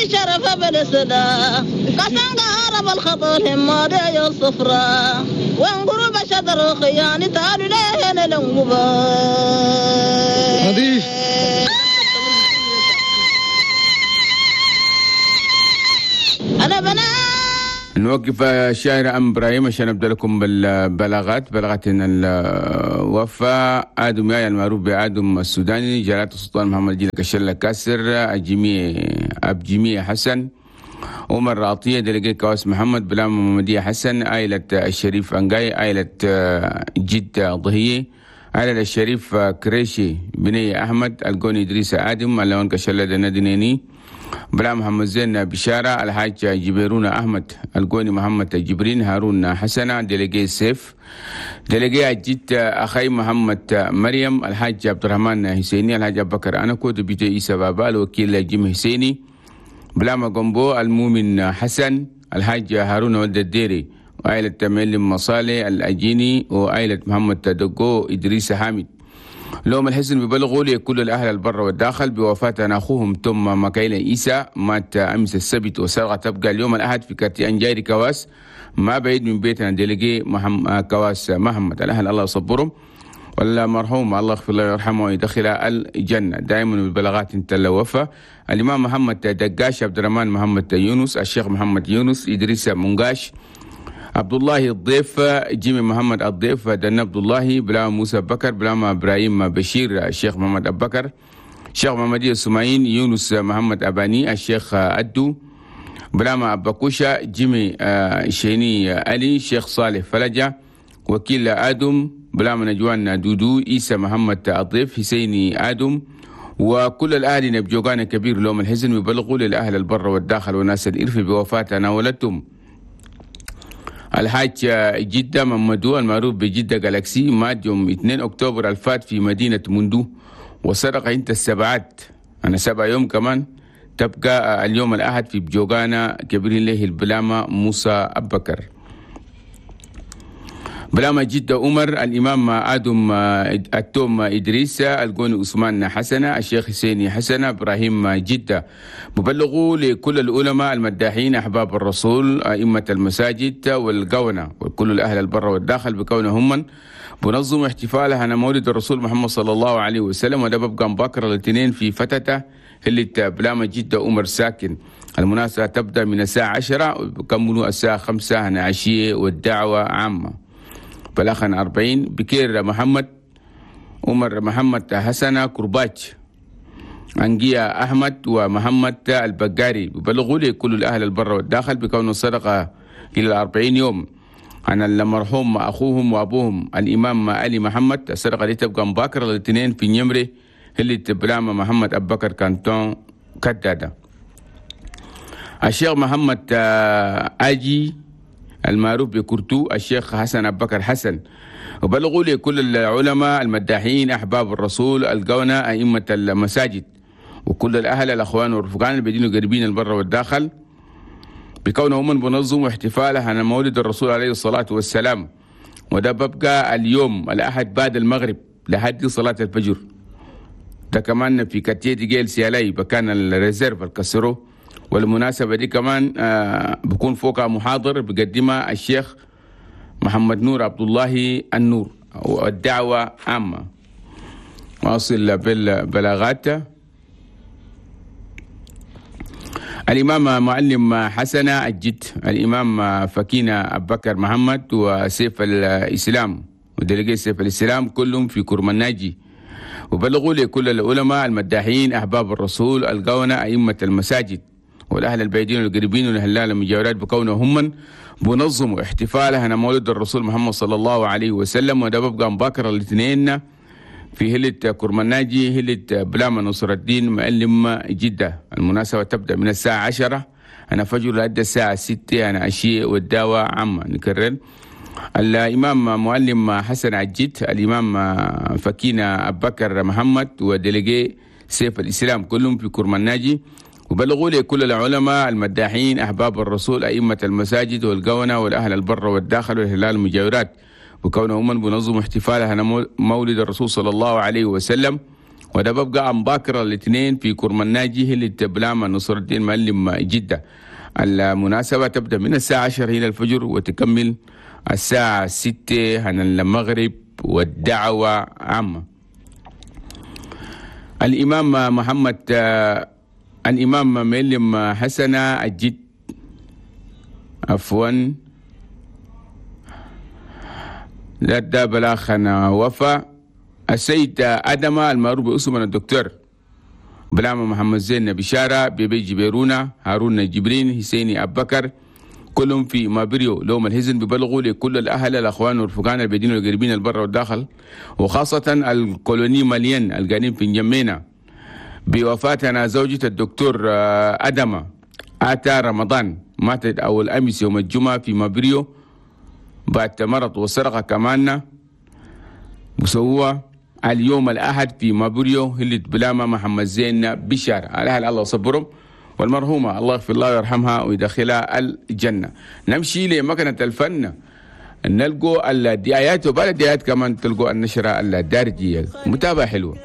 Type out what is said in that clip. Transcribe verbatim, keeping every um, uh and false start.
شرف بالسدا قسم عرب الخطر هماد يا الصفراء وانقرب شدر خياني تعالوا لهنا لنقبا نظيف. أنا بنا نوقف الشاعر أم إبراهيم عشان أبدأ لكم بالبلاغات. بلاغتنا الوفاة آدم يايا المعروف بآدم السوداني، جلالة السلطان محمد جيل كشلة كاسر، الجميع أب جميع حسن، عمر عطية، دلقي كواس محمد، بلام محمدية حسن، عائلة الشريف أنقاي، عائلة جدة ضهية، عائلة الشريف كريشي بني أحمد، القوني إدريس آدم، اللون كشلة ندنيني، بلا محمد زين بشارة، الحاج جبيرون أحمد، القوني محمد جبرين، هارون حسنة، دلقي سيف، دلقي جد أخي محمد مريم، الحاج عبد الرحمن حسيني، الحاج أبو بكر أنكو، دبيتي إيسا بابا، الوكيل جيم حسيني، بلاما قنبو، المؤمن حسن، الحاج هارون ولد الديري، وعائلة معلم مصالح الأجيني، وعائلة محمد تدقو إدريس حامد. لهم الحزن ببلغوا لكل الأهل البر والداخل بوفاة أخوهم توم مكايل إيسا، مات أمس السبت وسرقة تبقى اليوم الأحد في كارتي أنجايري كواس ما بعيد من بيتنا ديليجي محمد كواس محمد. الأهل الله يصبرهم، والمرحوم الله يغفر له ويرحمه ويدخله الجنة. دائما بالبلاغات انت الوفاة الإمام محمد دقاش، عبد الرحمن محمد يونس، الشيخ محمد يونس، إدريس منقاش، عبد الله الضيف، جيمي محمد الضيف، دنا عبد الله، بلا موسى بكر، بلا ابراهيم بشير، الشيخ محمد ابو بكر، الشيخ محمد السماعين، يونس محمد اباني، الشيخ ادو، بلا اباكوشا، جيمي شيني علي، الشيخ صالح فلجة، وكيل ادم، بلا نجوان دودو، عيسى محمد الضيف، حسيني ادم، وكل الاهل نبجوغان كبير لهم الحزن ويبلغوا للاهل البر والداخل وناس الارف بوفاة ناولتهم الحاج جدة ممدو المعروف بجدة جالاكسي، مات يوم اثنين أكتوبر الفات في مدينة مندو، وسرق انت السبعات أنا سبع يوم كمان تبقى اليوم الأحد في بجوغانا كبير له البلامة موسى أبكر. بلامة جدة عمر، الإمام آدم التوم إدريس، القوني عثمان حسنة، الشيخ حسيني حسنة، إبراهيم جدة. مبلغوا لكل العلماء المداحين أحباب الرسول، أئمة المساجد والقونة، وكل الأهل البر والداخل بكونهم من بنظم احتفالها على مولد الرسول محمد صلى الله عليه وسلم، وده ببقى مبكر الاثنين في فتته اللي بلامة جدة عمر ساكن. المناسبة تبدأ من الساعة عشرة وبكملوا الساعة خمسة هنا عشية، والدعوة عامة. بلاخن أربعين بكير محمد، عمر محمد حسنة كرباج، أنجيا أحمد، ومحمد البقاري. ببلغوا لي كل الأهل البر والداخل بكون الصدقة إلى الأربعين يوم عن المرحوم أخوهم وأبوهم الإمام علي محمد. الصدقة دي تبقى مباكرة الاثنين في نمري اللي تبلامة محمد أبو بكر كانتون كدادة. الشيخ محمد أجي المعروف بكرتو، الشيخ حسن أبو بكر حسن. وبلغوا لكل العلماء المداحين أحباب الرسول القونة أئمة المساجد وكل الأهل الأخوان والرفقان البدين قريبين البر والداخل بكونهم من بنظم احتفالها على مولد الرسول عليه الصلاة والسلام، وده ببقى اليوم الأحد بعد المغرب لحد صلاة الفجر. ده كمان في كتير جيل سيالاي بكان الريزيرف الكسرو، والمناسبة دي كمان آه بكون فوقها محاضر بقدمها الشيخ محمد نور عبد الله النور، والدعوة عامة. واصل بالبلاغات. الإمام معلم حسنة الجد، الإمام فكينة أبو بكر محمد، وسيف الإسلام ودلقي سيف الإسلام كلهم في كرمناجي. وبلغوا لكل العلماء المداحين أحباب الرسول القونة أئمة المساجد والأهل البعيدين والقريبين والهلال المجاورات بكونهم من بنظموا احتفالها على مولد الرسول محمد صلى الله عليه وسلم، وده ببقى مباكر الاثنين في هلة كرمناجي هلة بلاما نصر الدين معلم جدة. المناسبة تبدأ من الساعة عشرة أنا فجر لحد الساعة ستة أنا عشية، والدعوة عامة. نكرر الإمام معلم حسن عجيت، الإمام فكينة أبو بكر محمد، وديليجي سيف الإسلام كلهم في كرمناجي. وبلغوا لكل العلماء المداحين أحباب الرسول أئمة المساجد والقونة والأهل البر والداخل والهلال المجاورات، وكونهم من بنظم احتفالها مولد الرسول صلى الله عليه وسلم، وده ببقى عن باكر الاثنين في كرمناجي اللي بلاما نصر الدين معلم جدة. المناسبة تبدأ من الساعة عشرة إلى الفجر وتكمل الساعة ستة عن المغرب، والدعوة عامة. الإمام محمد الإمام معلم حسن الجد عفوا لا ده بلاخنا وفا السيد أدم المعروف باسم الدكتور بلاما محمد زين بشارة بيبي جبيرونا هارون جبرين حسيني أبكر كلهم في مابريو. لهم الحزن ببلغوا لكل الأهل الأخوان والرفقان البيدين والقريبين البر والداخل، وخاصة الكولوني ماليان القانين في نجمينا بوفاتنا زوجة الدكتور أدم آتا رمضان، ماتت أول أمس يوم الجمعة في مابريو بعد مرض وسرقة كمان، وسوى اليوم الأحد في مابريو هلت بلاما محمد زين بشار. الأهل الله صبرهم، والمرحومة الله يغفر الله ويرحمها ويدخلها الجنة. نمشي لمكنة الفن نلقوا الدعايات، وبعد الدعايات كمان تلقوا النشرة الدارجية. متابعة حلوة.